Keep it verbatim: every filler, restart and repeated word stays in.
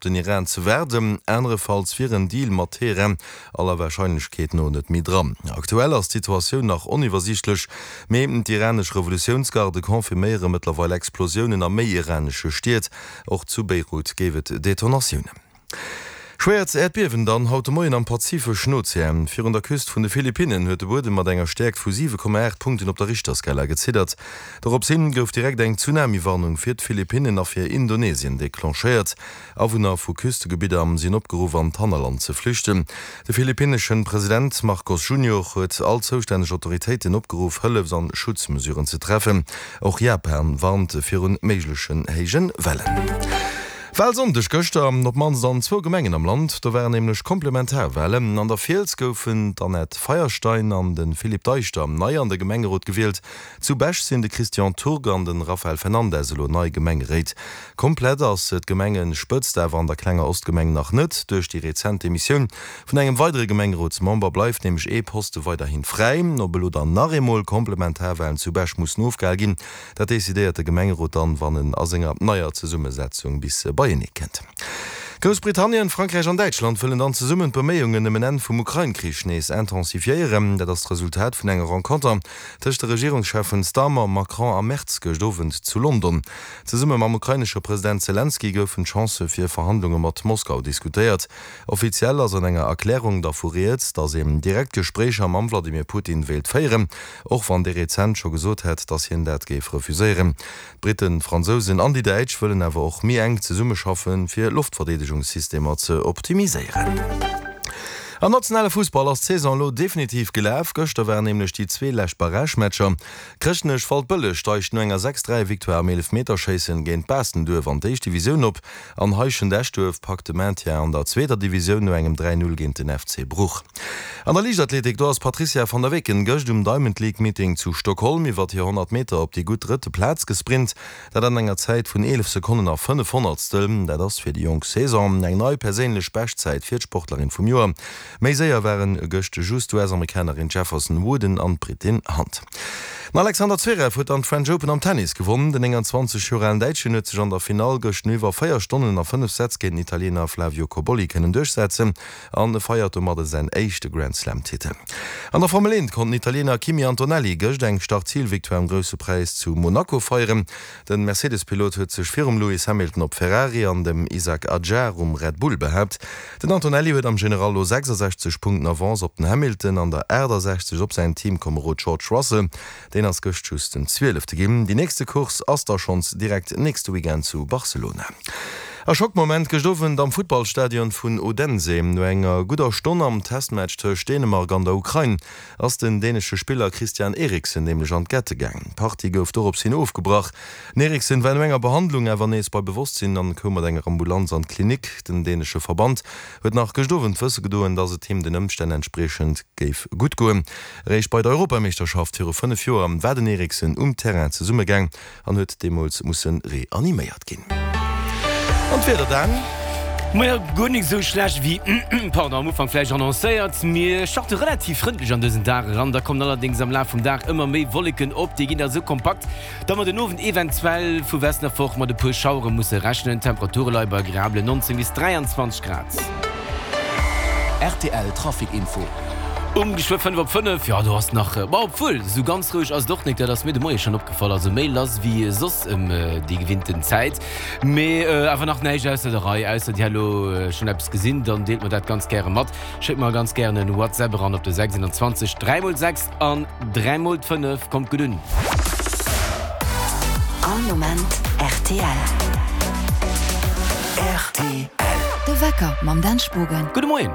den Iran ze waarden, anerefalls wier en Deal mat Teheran aller Warscheinlechkeet no net méi dran. Aktuell ass d'Situatioun nach oniwwersiichtlech, mee d'iranesch Revolutiounsgarde confirméiere mëttlerweil Explosiounen a méi iranesche Stied. Och zu Beirut géif et Detonatiounen. Schwéiert Äerdbiewen dann haut de Moien am Pazifeschen Ozean. Virun der Küst vun de Philippinnen huet de Buedem mat enger Stäerkt vu siwe Komma aacht Punkten op der Richterskala geziddert. Dorops hin gouf direkt eng Tsunami-Warnung fir d'Philippinnen a fir Indonesien declenchéiert. Awunner vu Küstegebidder sinn opgeruff an d'Hannerland ze flüchten. De philippinneschen President Marcos Junior huet all zoustänneg Autoritéiten opgeruff Hëllefs an Schutzmesuren ze treffen. Och Japan warnt virun méiglechen héije Wellen. Walsonndeg gëschter, op d'mannst an zwou Gemengen am Land. Do waren nämlech Komplementarwalen. An der Fiels goufen d'Annette Feierstein an de Philippe Deichter nei an de Gemengerot gewielt. Zu Bech sinn de Christian Turg an de Rafael Fernandes elo nei Gemengeréit. Komplett ass d'Gemengespëtzt awer an der klenger Ostgemeng nach net. Duerch déi rezent Demissioun vun engem weidere Gemengerotsmember bleift nämlech ee Poste weiderhi fräi. Ob elo dann nach eemol Komplementarwalen zu Bech mussen ofgehal ginn, dat decidéiert de Gemengerot dann, wann en a senger neier Zesummesetzung bis beienee kënnt. Groussbritannien, Frankräich an Däitschland wëllen dann zesummen d'Beméiungen ëm en Enn vum Ukrain-Krich nees intensifiéieren. Dat ass d'Resultat vun enger Renconter tëscht de Regierungscheffen Starmer, Macron a Merz gëscht Owend zu London. Zesumme mam ukrainesche President Selenskyj goufen d'Chancë fir Verhandlunge mat Moskau diskutéiert. Offiziell ass an enger Erklärung dervu rieds, datt een direkt Gespréicher mam Wladimir Putin wéilt féieren, och wann dee rezent scho gesot hätt, datt hien dat géif refuséieren. D'Briten, d'Fransousen an déi Däitsch wëllen awer och méi enk zesummeschaffen, fir Loftverdeedegungssystemer ze optimiséieren. Am nationale Fussball ass d'Saison elo definitiv gelaf. Gëschter waren nämlech déi zwee lescht Barragematcher. Chrëschtnech Waldbëlleg steigt no enger sechs dräi Victoire am Eelefmeterschéissen géint Baastenduerf an d'éischt Divisioun op an Heischent-Eschduerf packt de Maintien an der zweeter Divisioun no engem dräi null géint den F C Bruch. An der Liichtathletik, do ass d'Patrizia van der Weken gëscht um Diamond League Meeting zu Stockholm iwwert hir honnert Meter op déi gutt drëtte Plaz gesprint. Dat an enger Zäit vun eelef Sekonnen a fënnef Honnertstel. Dat ass fir déi jonk Saison eng nei perséinlech Beschtzäit fir d'Sportlerin vum Joer. Méi séier waren gëscht just d'U S-Amerikanerin Jefferson Wooden an d'Britin Hunt. Den Alexander Zverev huet dann d'French Open am Tennis gewonnen. Den nénganzwanzeg Joer alen Däitschen huet sech an der Finall gëscht no iwwer véier Stonnen a fënnef Sätz géint den Italiener Flavio Cobolli kënnen duerchsetzen an feiert domadde säin éischte Grand Slam Titel. An der Formel eent konnt den Italiener Kimi Antonelli gëscht eng Start-Zil-Victoire am Grousse Präis zu Monaco feieren. Den Mercedes-Pilot huet sech virum Lewis Hamilton op Ferrari an dem Isack Hadjar um Red Bull behaapt. Den Antonelli huet am General elo sechsasechzeg Punkten Avance op den Hamilton an der aachtasechzeg op säin Teamkomerod George Russell. Deen ass gëscht just den Zwielefte ginn. Déi nächste Course ass da schonns direkt nächste Weekend zu Barcelona. E Schockmoment gëscht Owend am Futtballstadion vun Odense. No enger gudder Stonn am Testmatch tëscht Dänemark an der Ukrain ass den dänesche Spiller Christian Eriksen nämlech an d'Gette gaangen. D'Partie gouf dorops hin ofgebrach. Den Eriksen war no enger Behandlung awer nees bei Bewosstsinn an koum mat enger Ambulanz an d'Klinik. Den dänesche Verband huet nach gëscht Owend wësse gedoen, dass et him den Ëmstänn entspriechend géif gutt goen. Eréischt bei der Europameeschterschaft viru fënnef Joer war den Eriksen um Terrain zesummegaang an huet deemools musse reaniméiert ginn. An d'Wieder dann? Majo, guer nik esou schlecht wéi, pardon, am Ufank vläicht annoncéiert. Mir starte relativ frëndlech an dësen Dag eran, da kommen allerdéngs am Laf vum Dag ëmmer méi Wolleken op. Déi ginn da esou kompakt, datt mer den Owend eventuell vu Westen erfort mat e puer Schauere musse rechnen. D'Temperature leie bei agreablen neunzéng bis dräianzwanzeg Grad. R T L Trafic Info. Um geschwë fënnef op fënnef, jo do ass nach, ma obwuel, esou ganz roueg ass et och nik, dat ass mir de Moie schonn opgefall, also méi lass wéi soss ëm déi gewinnten Zäit, mee awer nach näischt ausser der Rei. Ausser dir hat elo schonn eppes gesinn, dann deelt mer dat ganz gäre mat, schéckt mer ganz gären en WhatsApp eran op de sechsundzwanzeg dräi mol sechs an dräi mol d'fënnef. Kommt gutt un! All Moment R T L. R T L. De Wecker mam Dan Spogen. Gudde Moien!